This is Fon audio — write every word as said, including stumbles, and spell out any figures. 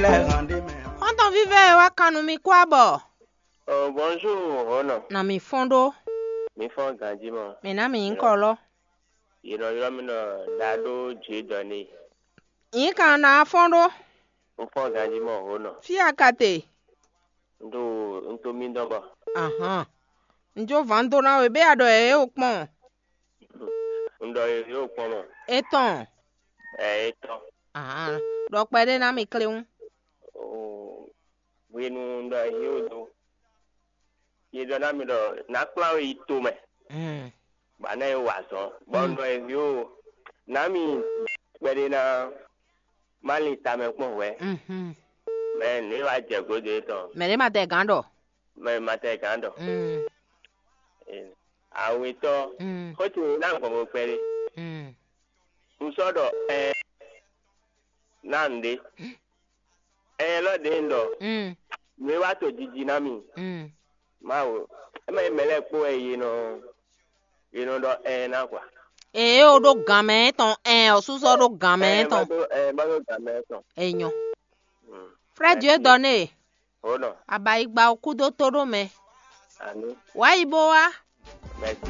Xɔ́ntɔn vívɛ́ e wá kan nú mi kú abɔ. Oh, bonjour, Hono. Na mi fɔ́n ɖó. Mi fɔ́n ganjí mɔ. Mi ná mi nyí kɔ lɔ. Yě nɔ ylɔ́ mì ɖɔ Dado Jidɔni. Nyí kan ná fɔ́n ɖó. Un fɔ́n ganjí mɔ, Hono. Fí a ka te? Un ɖo un to mì dɔn bɔ. Ahán. Un jó vǎn dó ná we bé a ɖɔ ɛ é o kpɔn. Un ɖɔ yě yóò kpɔ́n mɔ. Etɔn. Ɛ etɔn. Ahán. Ɖɔ kpɛɖé ná mi kléwún. Oo, hwenu un ɖɔ yě yóò dó. Yě ɖɔ ná mi ɖɔ ná kplá we yi tomɛ. Mm. Bɔ ná yě wa azɔn. Bɔ un ɖɔ yě yóò ná mi kpɛɖé ná má lin tamɛ kpɔ́n hwɛ̌. Mhm. Mɛ nǔ e wá jɛ gǒdo étɔn. Mɛ ɖé ma tɛ gǎn ɖɔ. Mɛ ma tɛ gǎn ɖɔ. Mm. Awetɔ. Mm. Xó ce ná gbɔn mo kpɛɖé. Mm. Un sɔ́ ɖɔ ɛ ná nǔɖé. Ɛ lɔ ɖě un ɖɔ. Mm. Nǔ e wá to jiji ná mi. Mm. Mawu. Ɛ mɛ mɛ lɛ́ɛ kpó wɛ yě nɔ yě nɔ ɖɔ ɛ ná kwa. Ee o ɖó gǎn mɛ tɔn ɛ ɔ súsɔ ɖó gǎn mɛ tɔn. Ɛ má ɖó gǎn mɛ tɔn. Enyɔ. Mm. Frère Dieu donné. Hono. Abayigba o kúdó tó ɖó mɛ. Àní. Wá yi bó wá. Merci.